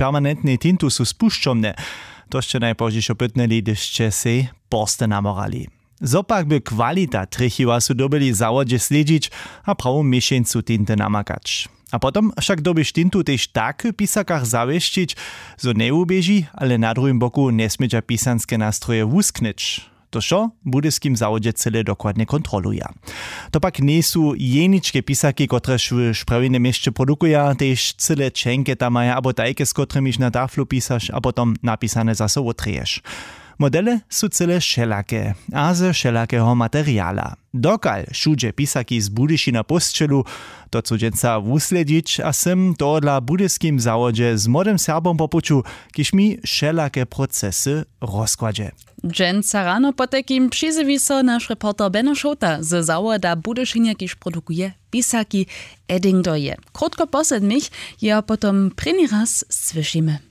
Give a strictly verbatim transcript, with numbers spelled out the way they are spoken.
permanentnej tintu su spušćomne. To sće najpozdźišo pytnyli, hdyž sće sej porsty namorali. Zo pak by kwalita trjechiła su dyrbjeli w zawodźe slědźić a prawu měšeńcu tinty namakać. A potom wšak dyrbiš tintu tež tak w pisakach zawěsćić, zo njewuběži, ale na druhim boku njesmědźa pisanske nastroje wusknyć. To wšo w budyskim zawodźe cyle dokładnje kontroluja. To pak njejsu jeničke pisaki, kotrež w sprjawjenym měsće produkuja, tež cyle čenke tam maja abo tajke, z kotrymjiž na taflu pisaš a potom napisane zaso wotreješ. Modele su cyle wšelake a ze wšelakeho materiala. Dokal wšudźe pisaki z Budyšina pósćelu, to chcu dźensa wuslědźić a sym tohodla w budyskim zawodźe z młodym Serbom po puću, kiž mi wšelake procesy rozkładźe. Dźensa rano potajkim přizjewi so naš reporter Beno Šołta ze zawoda Budyšinje, kiž produkuje pisaki. Edding do je krótko po sedmich, jeho potom prěni raz słyšimy.